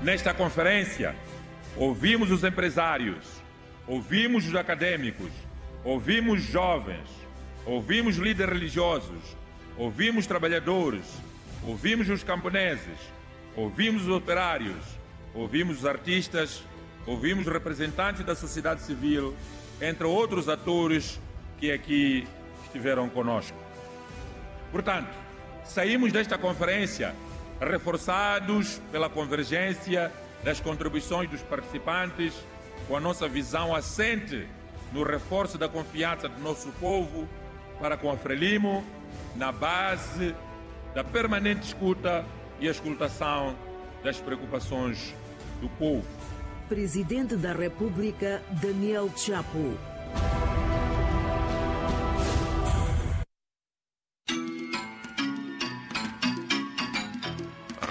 Nesta conferência, ouvimos os empresários, ouvimos os acadêmicos, ouvimos jovens, ouvimos líderes religiosos, ouvimos trabalhadores, ouvimos os camponeses, ouvimos os operários, ouvimos os artistas, ouvimos representantes da sociedade civil, entre outros atores que aqui estiveram conosco. Portanto, saímos desta conferência reforçados pela convergência das contribuições dos participantes, com a nossa visão assente no reforço da confiança do nosso povo para com a Frelimo, na base da permanente escuta e escutação das preocupações do povo. Presidente da República, Daniel Chapo.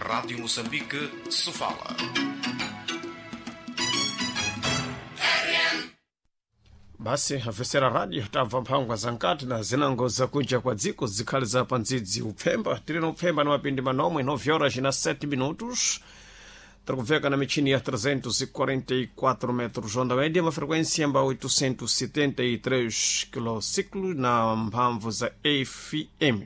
Rádio Moçambique, Sofala. Basi afesera radio tamva mphangwa zankati na zinango zakunja kwa dziko zikhali za pandzidzi upfemba tili na upfemba na mapindi manomwe 9 horas na 7 minutos. Tiri na michini ya 344 metros onda média, uma frequência mba 873 kilociclos na mphamvu za FM.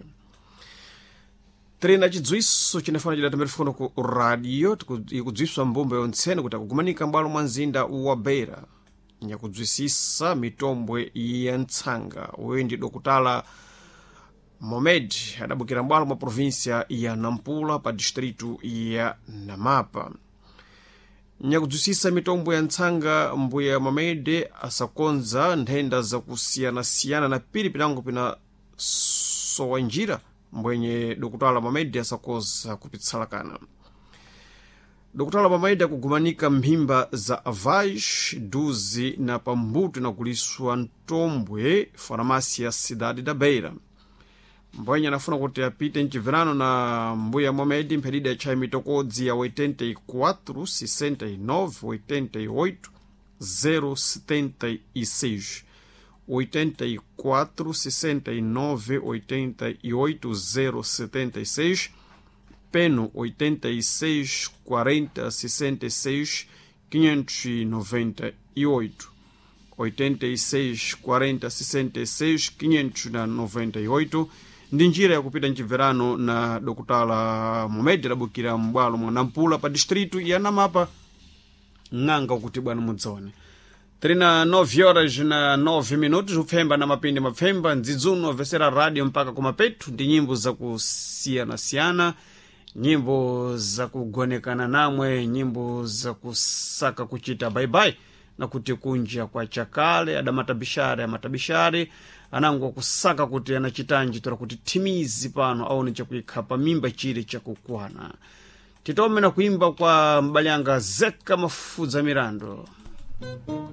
Tiri na chidziwiso chinafana chidatamira fikono ku radio ikudziwiswa mbumba yontsene kuti akugumanika m'bwalo mwa mzinda wa Beira nyakudzwisisa mitombwe ya ntsanga. Uyu ndi Dokutala Momed adabukira m'bwalo mwa província ya Nampula pa distrito ya Namapa. Nyakudzwisisa mitombo ya ntsanga, mbuya Momed asakonza nthenda zakusiyanasiyana na pili pinango pina sowa njira mbwenye Dokutala Momed asakoza kupitsalakana. Dokutala Momed akugumanika mphimba za avais duzi na pambuto nakuliswa ntombwe farmácia Cidade da Beira. Mbwenye anafuna kuti apite mchibverano na mbuya Momed mphedida atchaye mitokodzi ya 84 69 88 076, 84 69 88 076, peno 86 40 66 598, 86 40 66 598 ndi njira yakupita mchibverano na Dokutala Momed adabukira m'bwalo mwa Nampula pa distrito ya Namapa ng'anga kuti bwana mudzaone. Tiri na 9 horas na 9 minutos upfemba na mapindi mapfemba ndzidzuno obvesera radio mpaka kumapetu ndi nyimbo zakusiyanasiyana, nyimbo zakugonekana namwe, nyimbo zakusaka kuchita baibai na kuti kunja kwa chakale adamatabishare amatabishare anango kusaka kuti anachitanji tora kuti thimizi pano aone chakuikha pa mimba chile chakukwana. Titome na kuimba kwa mbalyanga Zeka Mafudza Mirando.